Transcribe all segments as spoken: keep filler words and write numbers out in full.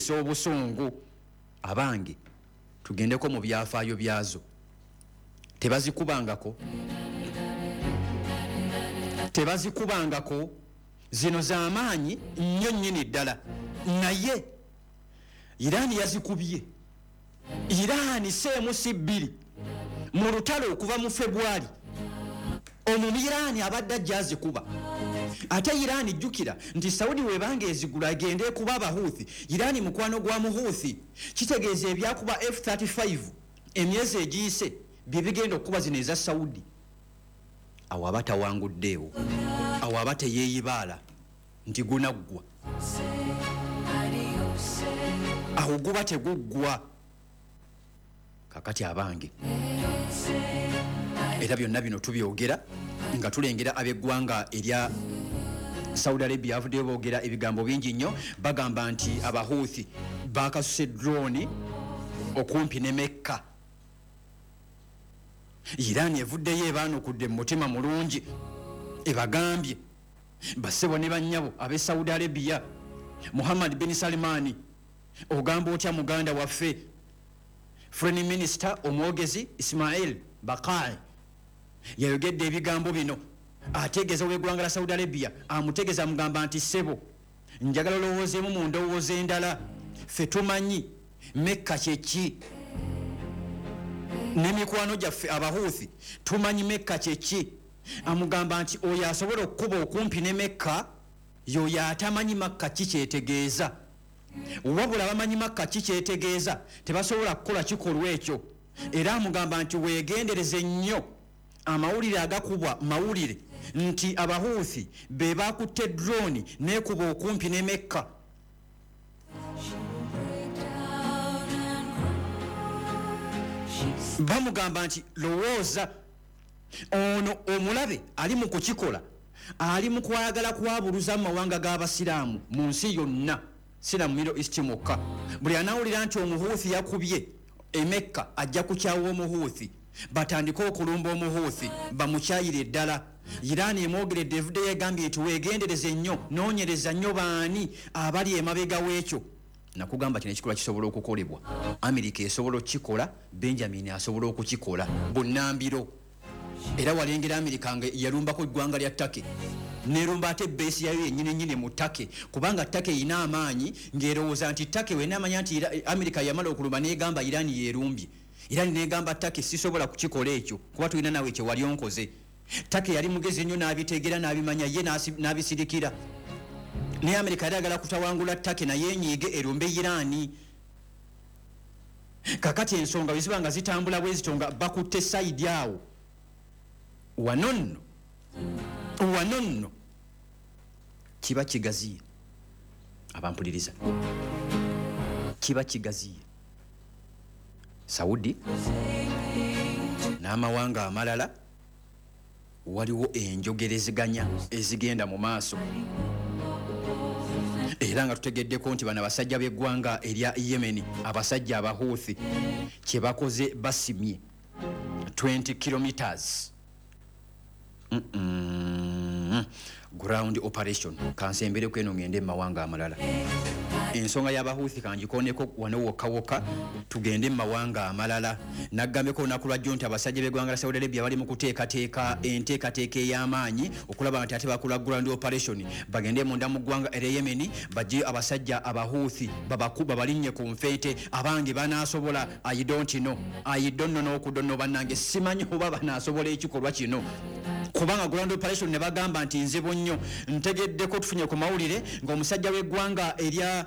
Okuwulisa obusungu. Abange, tugendeko mu byafaayo byazo. Tebazikubangako, tebazikubangako. Zino z'amaanyi nnyo nnyini ddala, naye Iraani yazikubye. Iraani seemu si bbiri mu lutalo okuva mu Febwali Omumiraani abadde ajja azikuba. Ate Iraani, jjukira nti Saudi webanga ezigula agende ekuba Abahuuthi. Iraani mukwano gwa Muhuuthi. Kitegeeza ebyakuba F thirty-five emyezi egiyise bye bigenda okukuba zino eza Saudi. Awo aba tawanguddeewo, awo aba teyeeyibaala nti gunaggwa, awo guba teguggwa. Kakati abange, era byonna bino tubyogera nga tulengera ab'eggwanga erya Saudi Arabia avuddeyo boogera ebigambo bingi nnyo. Bagamba nti Abahuuthi bakasuse drone okumpi ne Mekka. Iran evuddeyo ebaanukudde mu mutima mulungi, ebagambye, "Bassebo ne bannyabo ab'e Saudi Arabia, Muhammad bin Salmani, ogamba otya muganda waffe?" Foreign minister, omwogezi Ismail Bakai yayogedde ebigambo bino, ategeeza ow'eggwanga la Saudi Arabia, amutegeeza, amugamba nti, "Ssebo, njagala olowoozeemu mu ndowooza endala. Ffe tumanyi Mekka kyeki, n'emikwano gyaffe Abahuuthi tumanyi Mekka kyeki." Amugamba nti oyo asobola okukuba okumpi ne Mekka yoyo atamanyi Makka ki kyetegeeza. Wabula bamanyi Makka ki kyetegeeza, tebasobola kukola kikolwa ekyo. Era amugamba nti weegendereze nnyo amawulire agakubwa mawulire nti Abahuuthi be bakutte drone nekuba okumpi ne Mekka. Break down and cry. She Bamugamba nti lowooza, ono omulabe ali mu kukikola, ali mu kwagala kwabuluza mu mawanga g'Abasiraamu mu nsi yonna, sina mu Middle East mwokka. Buli anawulira nti Omuhuuthi yakubye Emekka ajja kukyawa Omuhuuthi, batandike okulumba Omuhuuthi, bamukyayire ddala. Iraani emwogeredde, evuddeyo egambye nti weegendereze nnyo, noonyereza nnyo baani abali emabega w'ekyo. Nakugamba kino ekikolwa kisobola okukolebwa. Amerika esobola okukikola, Benjamin asobola okukikola bunnambiro. Era walengera Amerika nga yalumbako eggwanga lya Turkey, nerumba ate base yayo yenyini nyini mu Turkey, kubanga Turkey erina amaanyi, ng'erowooza nti Turkey wenamanya nti Ira- Amerika yamala okulumba, negamba Iran yerumbye. Iran negamba Turkey, "Sisobola kukikola ekyo kuba tulina nawe kyewali onkoze." Turkey yali mugezi nnyo, n'abitegeera, n'abimanya ye, n'asi- n'abisirikira. Naye Amerika yali agala kutawangula Turkey, naye enyiige erumbe Irani. Kakati ensonga bwe ziba nga zitambula bwe zito, nga bakutte side awo, wano nno wano nno kiba kigaziye. Abampuliriza, kiba kigaziye. Saudi n'amawanga amalala waliwo enjogerezeganya ezigenda mu maaso, era nga tutegeddeko nti bano abasajja b'eggwanga erya Yemeni, abasajja Abahuuthi, kye bakoze basimye twenty kilometers. Mm -mm. ground operation. Kansembereko eno ngende mumawanga amalala. Ensonga y'Abahuuthi kangikoneko wano wokka wokka, tugende mu mawanga amalala. Nagambeko olunaku lwajjo nti abasajja b'eggwanga la Saudi Arabia bali mu kuteekateeka enteekateeka ey'amaanyi okulaba nti ate bakola ground operation, bagende munda mu ggwanga erya Yemeni, bajje abasajja Abahuuthi babaku babalinnye ku nfeete. Abange, banaasobola? I don't know, I don't know n'okudonno. Bannange, simanyi oba banaasobola ekikolwa kino, kubanga ground operation ne bagamba nti nzibu nnyo. Ntegeddeko, tufunye ku mawulire ng'omusajja w'eggwanga erya,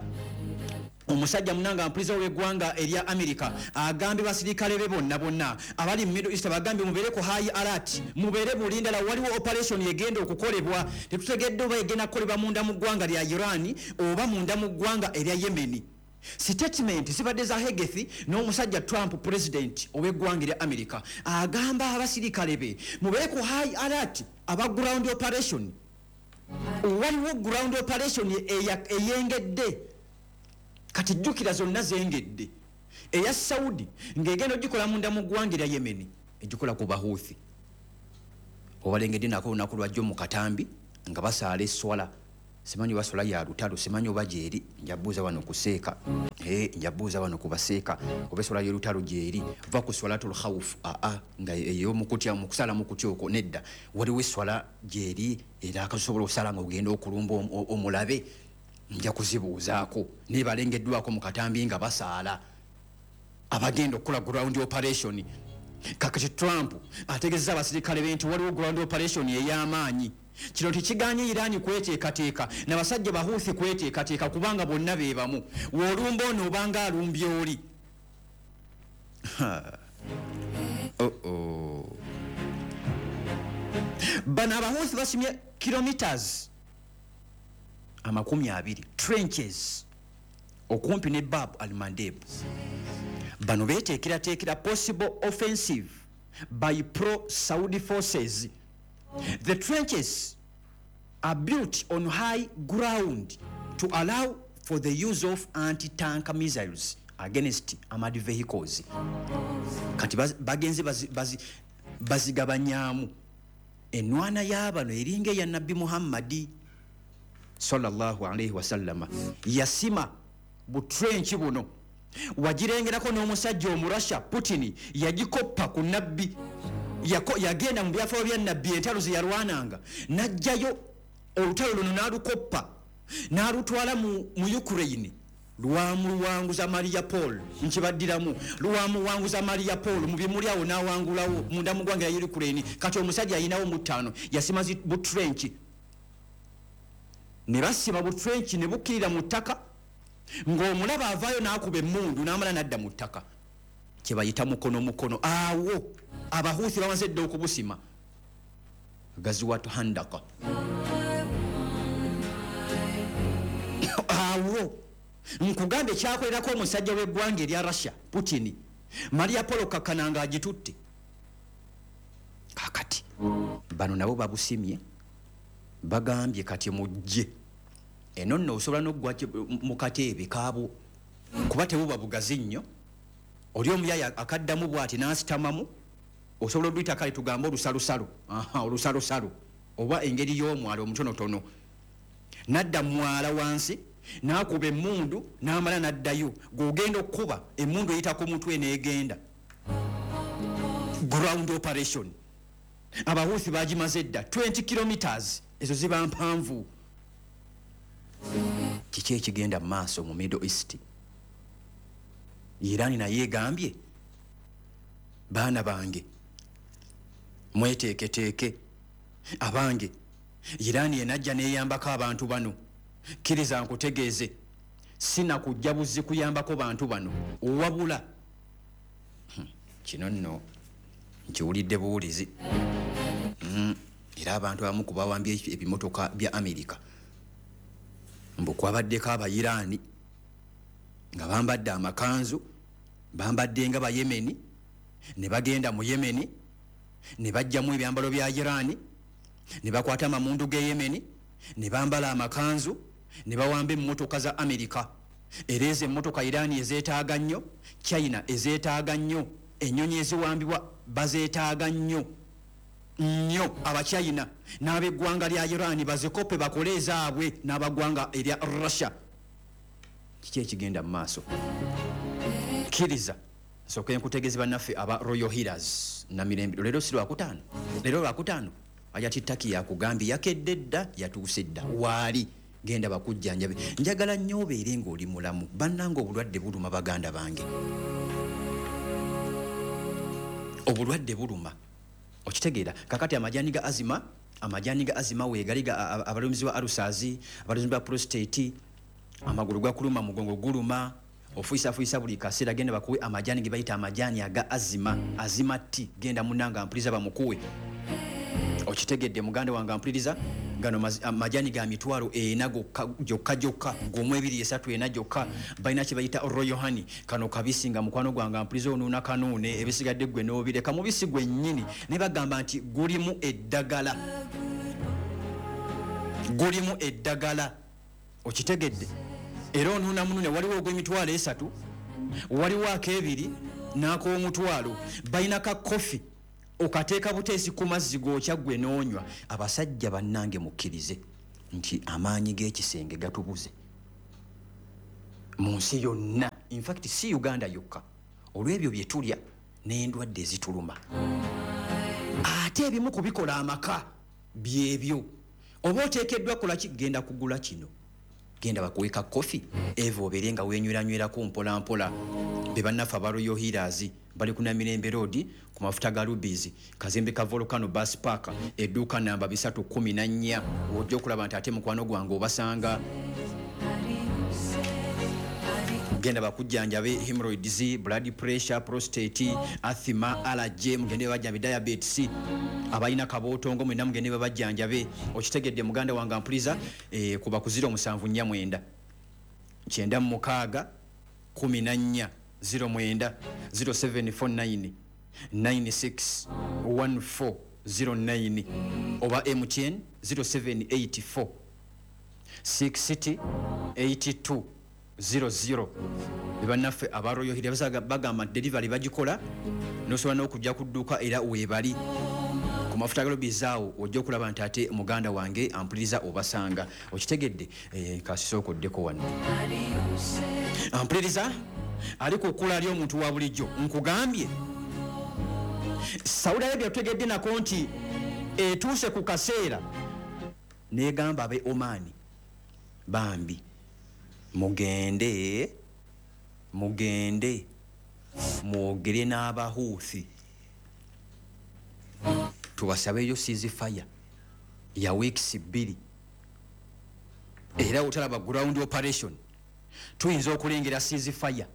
omusajja munanga mpuliza w'eggwanga erya America agambye basirikale be bonna bonna abali mu Middle East, bagambye mubeere ku high alert, mubeere bulindala, waliwo operation egenda okukolebwa. Tetutegedde oba egenda kukolebwa munda mu ggwanga lya Iran oba munda mu ggwanga erya Yemeni. Statement zibadde za Hegseth n'omusajja Trump, president ow'eggwanga erya America, agamba abasirikale be mubeere ku high alert aba ground operation. Waliwo ground operation eya- eyengedde. Kati jjukira zonna zengedde. Eya Saudi ng'egenda ogikola munda mu ggwanga erya Yemeni, egikola ku Bahuuthi. Obalengedde nako olunaku lwajjo mu katambi nga basaala esswala. Simanyi oba swala ya lutalo, simanyi oba gyeri, njabuuza wano kuseeka, eh, njabuuza wano kubaseeka oba eswala y'olutalo gyeri. Va ku swalatul khawf, aa nga ey'omukutya, mu kusala mu kutya okwo nedda. Waliwo eswala gyeri era akasobola okusala nga ogenda okulumba omulabe, nja kuzibuuzaako. Naye balengeddwako mu katambi nga basaala abagenda okukola ground operation. Kakati Trump ategeezezza abasirikale be nti waliwo ground operation ey'amaanyi. Kino tekiganye Iran kweteekateeka n'abasajja Bahuthi kweteekateeka, kubanga bonna be bamu. W'olumba ono obanga alumbye oli. Oh oh. Bano Abahuthi basimye kilometers amakumi abiri trenches okumpi ne Bab al-Mandeb. Bano beeteekerateekera possible offensive by pro-Saudi forces. The trenches are built on high ground to allow for the use of anti-tank missiles against armored vehicles. Kati bagenze bazigabanyaamu. Enwana y'abano eringa eya Nabbi Muhammadi sallallahu alayhi wasallama, yasima butrench buno. Wagirengerako n'omusajja Omurasha Putin yagikoppa ku Nabbi. Yagenda mu byafaayo bya Nabbi, entalo ze yalwananga, n'ajjayo olutalo luno n'alukoppa n'alutwala mu, mu Ukraine. Lwamuwanguza Maria Paul, nkibaddiramu, lwamuwanguza Maria Paul mu bimuli awo n'awangulawo munda mu ggwanga lya Ukraine. Kati omusajja ayinawo mu ttaano, yasima butrench ne basima butrench ne bukkirira mu ttaka, ng'omulaba avaayo n'akuba emmundu n'amala n'adda mu ttaka, kye bayita mukono mukono. Awo Abahuthi bamaze dda okubusima Gaziwat Handaka. Awo nkugambye kyakolerako omusajja w'eggwanga erya Russia Putin, Maria Paul Kakananga agitutte. Kakati bano nabo babusimye, bagambye kati mujje eno nno osobola n'oggwa mu kateebe kaabo, kuba tebuba bugazi nnyo. Oli omuyaya akaddamu bw'ati n'asitamamu, osobola oluyita kale tugambe olusalusalo, aha, olusalusalo oba engeri y'omwala omutonotono. N'adda mwala wansi n'akuba emmundu n'amala n'addayo. Gw'ogenda okukuba emmundu eyita ku mutwe n'egenda. Ground operation Abahuthi bagimaze dda twenty kilometers, ezo ziba mpanvu. Kiki ekigenda mu maaso mu Middle East? Iran naye egambye baana bange mweteeketeeke, abange Iran enajja n'eyambako abantu bano. Kkiriza nkutegeeze, sina kujja buzzi kuyambako bantu bano, wabula kino nno nkiwulidde buwulizi. Mm, era abantu abamu ku bawambye ebimotoka bya Amerika mbu kwabaddeko Abayiraani nga bambadde amakanzu, bambadde nga Bayemeni, ne bagenda mu Yemeni ne bajjamu ebyambalo bya Irani, ne bakwata amamundu ge Yemeni, ne bambala amakanzu, ne bawamba emmotoka za Amerika. Era ezo emmotoka Irani ezeetaaga nnyo, China ezeetaaga nnyo, ennyonyi eziwambibwa bazeetaaga nnyo nnyo. Abachina n'ab'eggwanga lya Irani bazikope bakole ezaabwe n'abaggwanga erya Russia. Kiki ekigenda mu maaso? Kkiriza nsooke nkutegeeze bannaffe aba Royal Healers Namirembe. Leero si lwakutaano, leero lwakutaano Ayati Taki yakugambye yakedde dda, yatuuse dda waali, genda bakujjanjabe. Njagala nnyo obeere ng'oli mulamu. Bannange obulwadde buluma, baganda bange, obulwadde buluma, okitegeera. Kakati amajani ga azima, amajani ga azima weegali abalumizibwa alusazi, abalumizibwa prostate, amagulu gakuluma, mugongo guluma, ofuyisafuyiisa buli kaseera, genda bakuwe amajani ge bayita amajani aga azima, azima tea. Genda munnange mpuliriza bamukuwe. Okitegedde muganda wange ampuliriza, gano majani ga mitwalo ena gyokka gyokka, gumu ebiri esatu ena gyokka. Balina kye bayita Royal Honey, kano kabisi nga mukwano gwange ampuliriza onuuna kanuune, ebisigadde ggwe n'obireka mubisi gwennyini. Ne bagamba nti gulimu eddagala, gulimu eddagala, okitegedde. Era onuuna munune, waliwo ogw'emitwalo esatu, waliwo ak'ebiri n'ak'omutwalo. Balina ka kofi okateeka buteesi ku mazzi g'okya ggwe n'onywa. Abasajja bannange mukkirize, Nti amaanyi g'ekisenge gatubuze mu nsi yonna, infact si Uganda yokka, olw'ebyo bye tulya n'endwadde ezituluma. Ate ebimu ku bikola amaka byebyo. Oba oteekeddwa kukola ki? Genda kugula kino, genda bakuwe ka kofi eva obeere nga weenyweranywerako mpola mpola. Be bannaffe aba Royal Healers bali ku Namirembe Road ku mafuta ga Rubies, kazimbe ka Volcano Bus Park, edduuka namba bisatu kumi na nnya. Ojja okulaba nti ate mukwano gwange obasanga. Genda bakujjanjabe hemorrhoids, blood pressure, prostate, asthma, allergy, mugende babajjanjabe diabetes, abalina kabootongo mwenna mugende babajjanjabe. Okitegedde muganda wange ampuliza, eh, kuba ku ziro musanvu nnya mwenda kyenda mu mukaaga kumi na nnya ziro mwenda ziro seven four nine nine six one four zero nine oba M T N zero seven eight four six eight two zero zero. Bannaffe aba Royal Healers bagamba nti delivery bagikola, n'osobola n'okujja ku dduuka era weebali ku mafuta ga Rubies awo. Ojja okulaba nti ate muganda wange ampuliriza obasanga. Okitegedde? Eh, kasisooka oddeko wano. Ampuliriza ali ku kkula ly'omuntu wa bulijjo. Nkugambye Saudi Arabia tutegedde nako nti etuuse ku kaseera n'egamba abe Oman, bambi mugende, mugende mwogere n'Abahuuthi tubasabeyo ceasefire ya weeks bbiri, era otalaba ground operation tuyinza okulengera ceasefire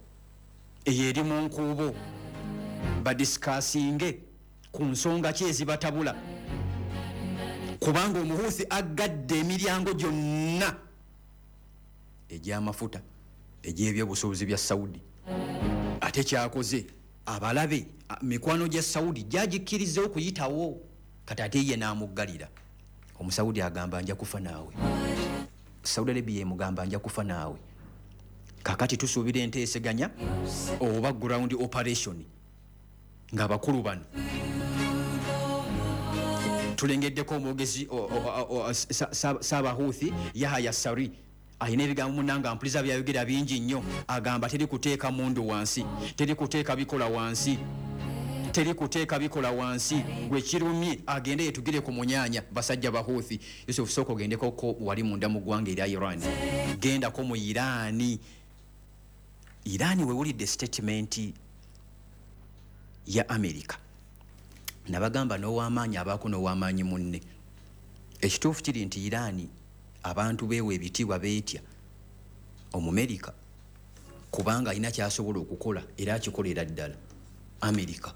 eyo eri mu nkuubo, badiscussinge ku nsonga ki ezibatabula, kubanga Omuhuuthi aggadde emiryango gyonna egy'amafuta egy'ebyobusuubuzi bya Saudi. Ate kyakoze abalabe mikwano gya Saudi gyagikkiriza okuyitawo, kati ate ye n'amuggalira. Omusaudi agamba nja kufa naawe, Saudi Arabia emugamba nja kufa naawe. Kakati tusuubira enteeseganya oba ground operation ng'abakulu bano tulengeddeko omwogezi Saabahuuthi Yahaya Sari alina ebigambo munnange ampuliza byayogera bingi nnyo. Agamba teri kuteeka mundu wansi, teri kuteeka bikola wansi, teri kuteeka bikola wansi, gwe kirumye agende yetugire ku munyaanya. Basajja Bahuuthi, Yusuf sooka ogendeko wali munda mu ggwanga erya Iran, gendako mu Iran. Iran wewulidde statement ya America, nabagamba n'ow'amaanyi abaako n'ow'amaanyi munne. Ekituufu kiri nti Iran abantu beewa ebitiibwa, beetya Omumerika kubanga alina ky'asobola okukola era akikolera ddala. Amerika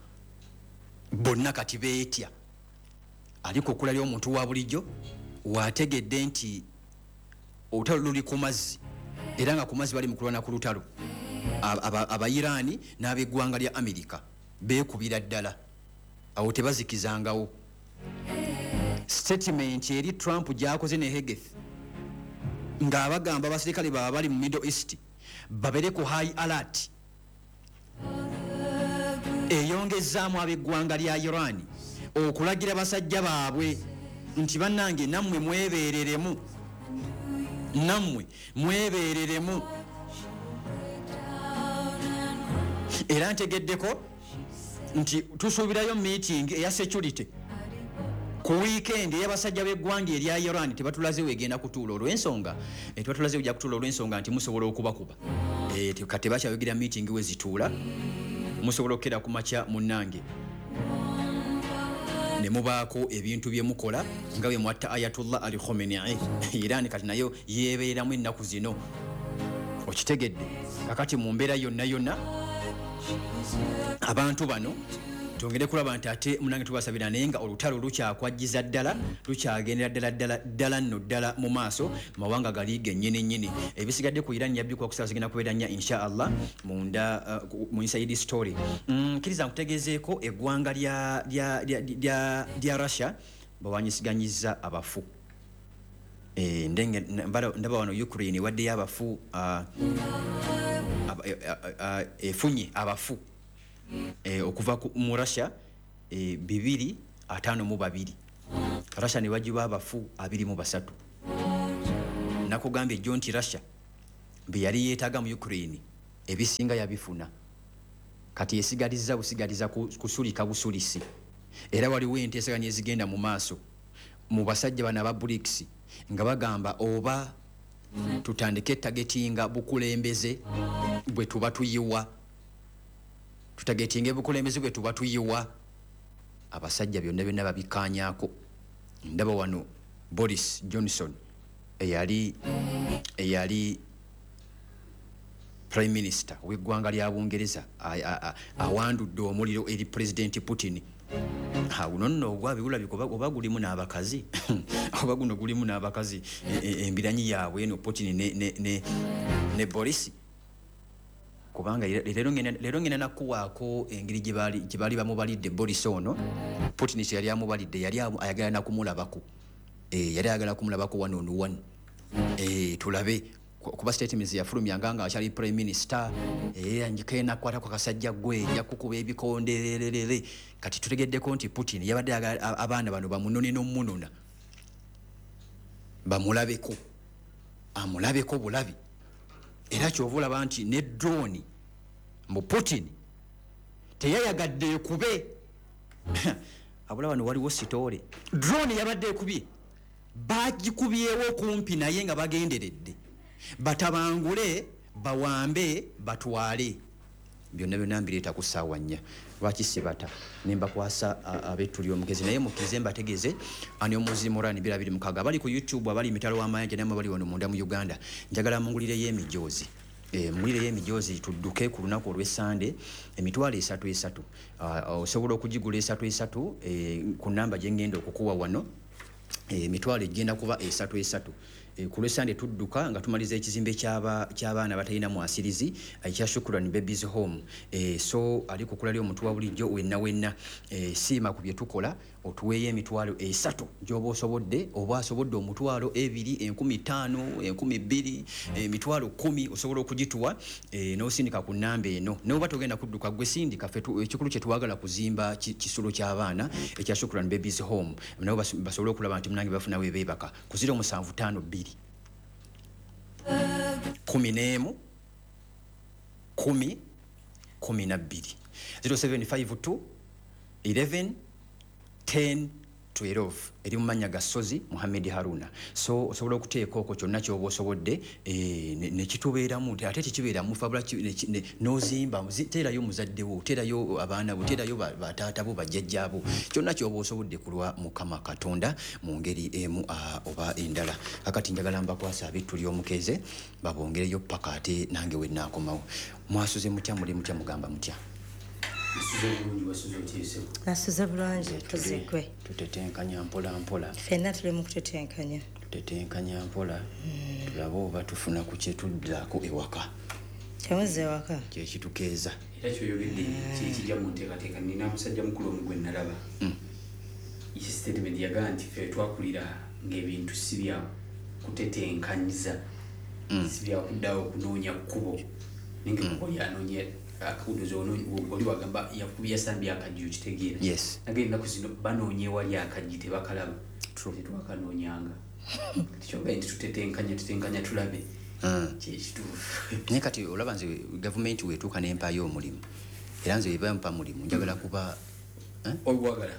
bonna kati beetya. Aliko okula ly'omuntu wa bulijjo waategedde nti olutalo luli ku mazzi, era nga ku mazzi bali mu kulwana ku lutalo. Abayiraani n'ab'eggwanga lya Amerika beekubira ddala, awo tebazikizangawo. Statement eri Trump gy'akoze ne Hegeth ng'abagamba abasirikale baaba bali mu Middle East babere ku high alert, eyongezaamu ab'eggwanga lya Iran okulagira basajja baabwe nti bannange nammwe mwebeereremu, nammwe mwebeereremu. Era ntegeddeko nti tusuubirayo meeting eya security ku weekend ey'abasajja b'eggwanga erya Iran. Tebatulaze wegenda kutuula olw'ensonga, tebatulaze wejja kutuula olw'ensonga nti musobola okubakuba. Kati tebakyayogerera meeting we zituula, musobola okukera ku makya munnange ne mubaako ebintu bye mukola nga bwe mwatta Ayatollah Ali Khamenei. Iran kati nayo yeebeeramu ennaku zino, okitegedde? Kakati mu mbeera yonna yonna abantu bano twongere kulaba nti ate munange tubasabira, naye nga olutalo lukyakwajjiza ddala, lukyagendera ddala ddala ddala nno ddala mu maaso, mawanga gali gennyini nnyini. Ebisigadde ku Iran yabbikwa ku ssaawa zigenda kubeera nnya insha Allah munda uh, mu inside story. Kkiriza mm, nkutegeezeeko eggwanga lya, lya, lya, lya, lya Russia bawanyisiganyizza abafu. E, ndenge ndaba wano Ukraine waddeyo abafu uh, efunye abafu e, okuva mu Russia e, bibiri ataano mu babiri. Russia ne bagiwa abafu abiri mu basatu. Nakugambye ejjo nti Russia bye yali yeetaaga mu Ukraine ebisinga yabifuna, kati esigaliza busigaliza kusulika busulisi. Era waliwo enteeseganya ezigenda mu maaso mu basajja bano aba BRICS nga bagamba oba tutandike targetinga bukulembeze bwe tuba tuyiwa, tutagetinge bukulembeze bwe tuba tuyiwa. Abasajja byonna byonna babikkaanyaako. Ndaba wano Boris Johnson eyali eyali Prime Minister w'eggwanga lya Bungereza awandudde omuliro eri President Putin. Guno nno ogwabi gulabika oba gulimu n'abakazi oba guno gulimu n'abakazi, embiranyi yaabwe eno Putin ne, ne, ne, ne Boris. Kubanga leero ngenda nakuwaako engeri gye baali bamubalidde Boris ono. Putin kye yali amubalidde yali ayagala nakumulabako, yali ayagala kumulabako one on one, tulabe kuba statements yafulumyanga nga akyali Prime Minister, era njikena kwata kwa kasajja gwe yakukuba ebikondererere. Kati tutegeddeko nti Putin yabadde abaana bano bamunone n'omunona bamulabeko, amulabeko bulabi. Era kyova olaba nti ne drone mu Putin teyayagadde ekube. Abula bano waliwo sitole drone yabadde ekubye, bagikubyewo kumpi naye nga bagenderedde batabangule, bawambe, batwale. Byonna byonna mbireeta ku ssaawa nnya. Lwaki sibata ne mbakwasa ab'ettuli omugezi? Naye mukkirize mbategeeze ani omuzi Moran bira biri mukaaga abali ku YouTube, abali emitalo w'amayanja nammwe abali wano munda mu Uganda, njagala mungulireyo emijoozi. Mungulireyo emijoozi tudduke ku lunaku olw'Essande emitwalo esatu esatu. Osobola okugigula esatu esatu ku nnamba gye ngenda okukuwa wano. Emitwalo egenda kuba esatu esatu. Ku lw'Essande tudduka nga tumaliza ekizimbe ky'abaana batalina mwasirizi ekya Shukran Babies Home. So ali ku kula ly'omuntu wa bulijjo wenna wenna, siima ku bye tukola, otuweeyo emitwalo esatu gy'oba osobodde, oba asobodde omutwalo ebiri, enkumi ttaano, enkumi bbiri, emitwalo kkumi osobola okugituwa n'osindika ku nnamba eno. N'oba togenda kudduka gwe sindika, ffe ekikulu kye twagala kuzimba kisulo ky'abaana ekya Shukran Babies Home, nabo basobole okulaba nti munange bafuna we beebaka ku ziro musanvu ttaano bbiri kumi n'emu kumi kumi na bbiri zero seven five two eleven ten twelve eri mu mannya ga Ssozi Muhammad Haruna. So osobola okuteeka okwo kyonna ky'oba osobodde ne kitubeeramu, ate tekibeeramu fabula n'ozimba, teerayo muzadde wo, teerayo abaana bo, teerayo bataata bo, bajjajjaabo, kyonna ky'oba osobodde ku lwa Mukama Katonda mu ngeri emu oba endala. Kakati njagala mbakwasa ab'ettu ly'omukeze babongereyo paka ate nange we nnaakomawo. Mwasuze mutya, muli mutya, mugamba mutya? Nasuze bulungi, tuzigwe. Tutetenkanya mpola mpola. Ffenna tuli mu kutetenkanya. Tutetenkanya mpola. Tulabe oba tufuna ku kye tuddaako ewaka. Kyamuzza ewaka? Kye kitukeeza. Era kyoyogedde kye kijja mu nteekateeka. Nina musajja mukulu omu gwe nalaba. Statement yagamba nti ffe twakulira ng'ebintu si bya kutetenkanyiza, si bya kuddawo kunoonya kkubo. Naye ng'ekkubo lyanoonya akakudoza oli wagamba yakubye yasambye akajji okitegeera. Nagenda ennaku zino banoonya ewali akajji tebakalaba. Tetwakanoonyanga. Kati kyogambye nti tutetenkanya tutenkanya tulabe kyekituufu. Naye kati olaba nze gavumenti weetuuka n'empaayo omulimu, era nze bwe bampa mulimu njagala kuba ogwagala.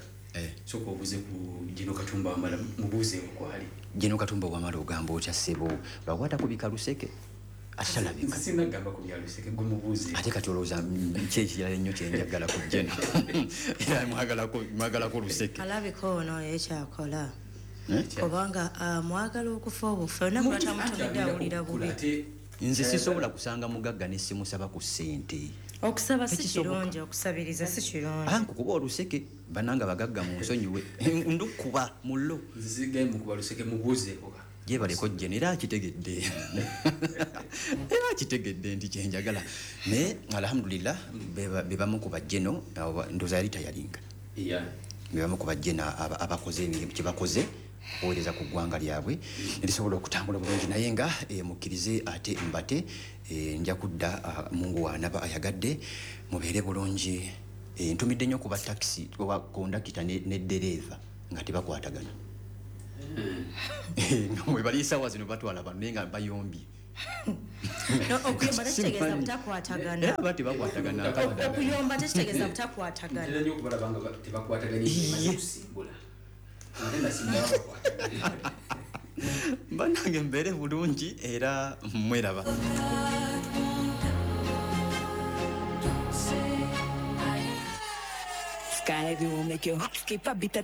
Sooka obuuze ku Gino Katumba Wamala, mubuuzeeko kwali. Gino Katumba Wamala ogamba otya ssebo? Lwakwata ku bikaluseke atalabika. Sinagamba ku byaluseke, gwe mubuuze. Ate kati olowooza ki ekirala ennyo kye njagala ku Gino? Era mwagalako luseke. Alabika ono ekyakola. Kubanga mwagala okufa obufa, olunaku lw'atamutumidde awulira bubi. Nze sisobola kusanga mugagga ne simusaba ku ssente. Okusaba si kirungi, okusabiriza si kirungi. Ah, nkukuba oluseke, bannange abagagga munsonyiwe. Ndukuba mullo. Nze sigaye mukuba luseke, mubuuzeeko. Gyebaleko Jeno, era akitegedde. Era akitegedde nti kye njagala. Naye alhamdulillah be bamu ku bajjeno, ndowooza yali tayalinga. Be bamu ku bajjeno abakoze emirimu kye bakoze okuweereza ku ggwanga lyabwe ne lisobola okutambula bulungi. Naye nga mukkirize ate mbate, nja kudda Mungu w'anaaba ayagadde, mubeere bulungi. Ntumidde nnyo ku ba takisi oba kondakita ne ddereeva nga tebakwatagana. Nga mwe bali esaawa zino batwala bano naye nga bayombye. No, okuyomba tekitegeeza butakwatagana. Era aba tebakwatagana. Okuyomba tekitegeeza butakwatagana. Ntera nnyo okubalaba nga ba- tebakwataganye emaze kusimbula, ate nasimbula bakwataganye. Bannange, mbeere bulungi era mweraba. Don't say I Sky will make your heart skip a beat.